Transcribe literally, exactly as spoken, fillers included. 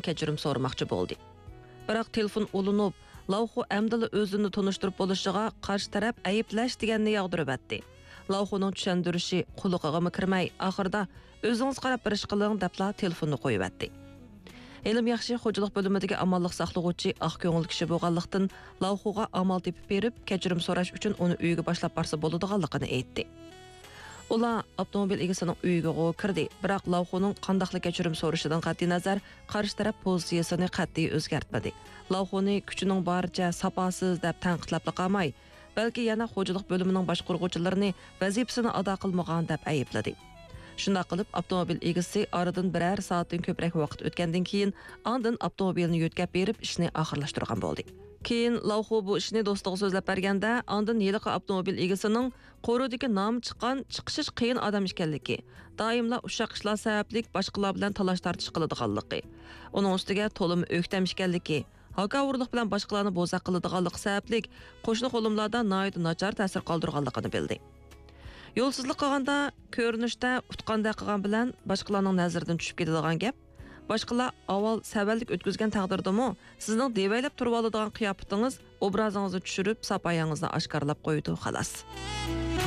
كەچۈرۈم سورىماقچى بولدى. بىراق تېلېفون ئۇلىنىپ، لاۋخۇ ئەمدىلا ئۆزىنى تونۇشتۇرۇپ بولۇشىغا قارشى تەرەپ ئەيىبلەش دېگەننى ياغدۇرۇۋەتتى. لاۋخۇنىڭ چۈشەندۈرۈشى قۇلىقىغىمۇ كىرمەي، ئاخىرىدا «ئۆزىڭىز قاراپ بىر ئىش قىلىڭ» دەپلا تېلېفوننى قويۇۋەتتى. ھېلىمۇ ياخشى، خوجىلىق بۆلۈمىدىكى ئامانلىق ساقلىغۇچى ئاق كۆڭۈل كىشى بولغانلىقتىن، لاۋخۇغا ئامال تېپىپ بېرىپ، كەچۈرۈم سوراش ئۈچۈن ئۇنى ئۆيىگە باشلاپ بارسا بولىدىغانلىقىنى ئېيتتى. ئۇلار ئاپتوموبىل ئىگىسىنىڭ ئۆيىگىغۇ كىردى، بىراق لاۋخۇنىڭ قانداقلا كەچۈرۈم سورىشىدىن قەتئىينەزەر، قارشى تەرەپ پوزىتسىيىسىنى قەتئىي ئۆزگەرتمىدى. لاۋخۇنى كۈچىنىڭ بارىچە ساپاسىز دەپ تەنقىدلەپلا قالماي، بەلكى يەنە خوجىلىق بۆلۈمىنىڭ باشقۇرغۇچىلىرىنى ۋەزىپىسىنى ئادا قىلمىغان دەپ ئەيىبلىدى. شۇنداق قىلىپ، ئاپتوموبىل ئىگىسى ئارىدىن بىرەر سائەتتىن كۆپرەك ۋاقىت ئۆتكەندىن كېيىن، ئاندىن ئاپتوموبىلنى يۆتكەپ بېرىپ، ئىشنى ئاخىرلاشتۇرغان بولدى. كېيىن لاۋخۇ بۇ ئىشنى دوستىغا سۆزلەپ بەرگەندە، ئاندىن ھېلىقى ئاپتوموبىل ئىگىسىنىڭ قورۇدىكى نامى چىققان، چىقىشى قىيىن ئادەم ئىكەنلىكى، دائىملا ئۇششاق ئىشلار سەۋەبلىك باشقىلار بىلەن تالاش-تارتىش قىلىدىغانلىقى، ئۇنىڭ ئۈستىگە تولىمۇ ئۆكتەم ئىكەنلىكى، ھاكاۋۇرلۇق بىلەن باشقىلارنى بوزەك قىلىدىغانلىقى سەۋەبلىك قوشنا-قولۇملاردا ناھايىتى ناچار تەسىر قالدۇرغانلىقىنى بىلدى. يولسىزلىق قىلغاندا كۆرۈنۈشتە ئۇتقاندەك قىلغان بىلەن باشقىلارنىڭ نەزىرىدىن چۈشۈپ كېتىدىغان گەپ. باشقىلار ئاۋۋال سەۋەنلىك ئۆتكۈزگەن تەقدىردىمۇ، سىزنىڭ دېۋەيلەپ تۇرۇۋالىدىغان قىياپىتىڭىز ئوبرازىڭىزنى چۈشۈرۈپ، ساپايىڭىزنى ئاشكارىلاپ قويىدۇ، خالاس.